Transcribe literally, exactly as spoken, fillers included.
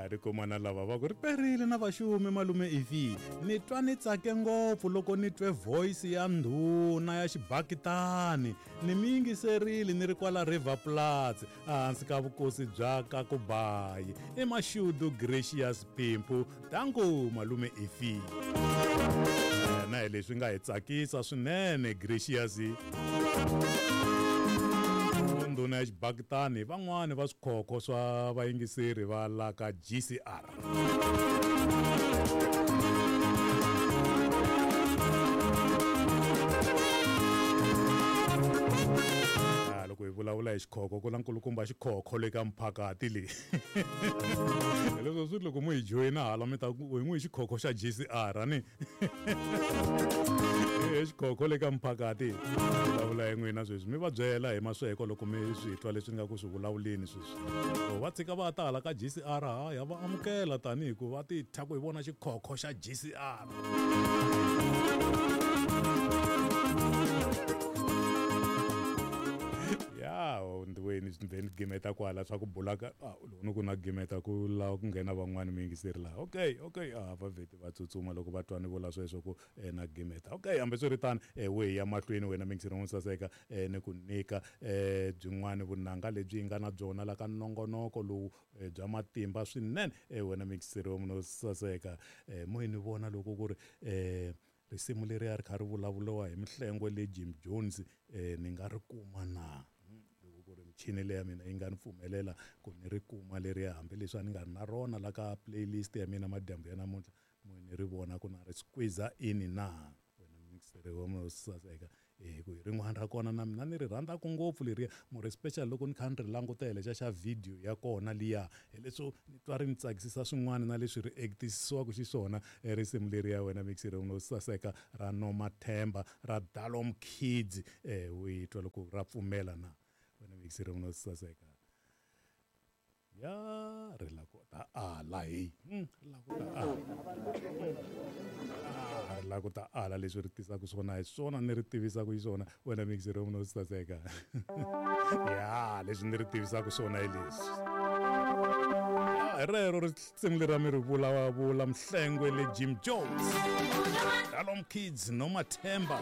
Ri kuma na lava va ku ri perile na vaxumi malume ivi ni twa ni tsake ngopfu loko ni twe voice ya ndhuna ya xibakitani ni mi yingiserile ni ri kwala River Platz ehansi ka vukosi bya Kakubayi i Mashudu Gracious Pimpu tanku malume ivi na hi leswi nga hi tsakisa swinene Gracious ndhuna ya xibakitani van'wani va swikhokho swa vayingiseri va la ka G C R. Loko hi vulavula hi xikhokho ku na nkulukumba xikhokho le ka mphakati leyi leswo swi loko mu hi joyina hala mi ta ku hi n'wi hi xikhokho xa G C R ani e xikhokho le ka mphakati vulavula hi n'wina sweswi mi va byela hi masweko loko mi swi twa leswi ni nga ku swi vulavuleni sweswi va tshika va ta hala ka G C R ha ya va amukela tanihi ku va ti thya ku hi vona xikhokho xa G C R. Ya ndiweni then gimeta kwala swa ku bula ka loko ni ku na gimeta ku lava ku nghena van'wani mi yingiseri laha okay okay a va vheti va tsutsuma loko va twa ni vula sweswo ku na gimeta okay hambiswiritano we ya mahlweni wena mi yingiseri n'wi saseka ni ku nyika byin'wani vunanga lebyi hi nga na byona la ka nongonoko lowu bya matimba swinene wena mi yingiseri wa munhu saseka mo hi ni vona loko ku ri risimu leri a ri kha ri vulavuriwa hi Mhlengwe le Jim Jones ni nga ri kuma na loko ku ri michini leya mina yi nga ni pfumelela ku ni ri kuma leriya hambileswi a ni nga ri na rona la ka playlist ya mina madyambu ya namuntlha mo ni ri vona ku na ri squeeze in na wena mixere wa munhu saseka hi ku hi rin'wana ra kona na mina ni ri rhandzaka ngopfu leriya more especially loko ni kha ni ri langutela xa xa video ya kona liya hi leswo ni twa ri ni tsakisisa swin'wana na leswi ri actisiwaka xiswona risimu leriya wena mixere wa munhu saseka ra Nomathemba ra Dalom Kids u yi twa loko ra pfumela na wena mixere wa munhu saseka ya ri la ku ta ala hi ri la ku ta ala ri la ku ta ala leswi ri tisaka swona hi swona ni ri tivisaka hi swona wena mixere wa munhu saseka ya leswi ni ri tivisaka swona hi leswi hi rero risimu leri mi ri vulavula Mhlengwe le Jim Jones Dalom Kids Nomathemba.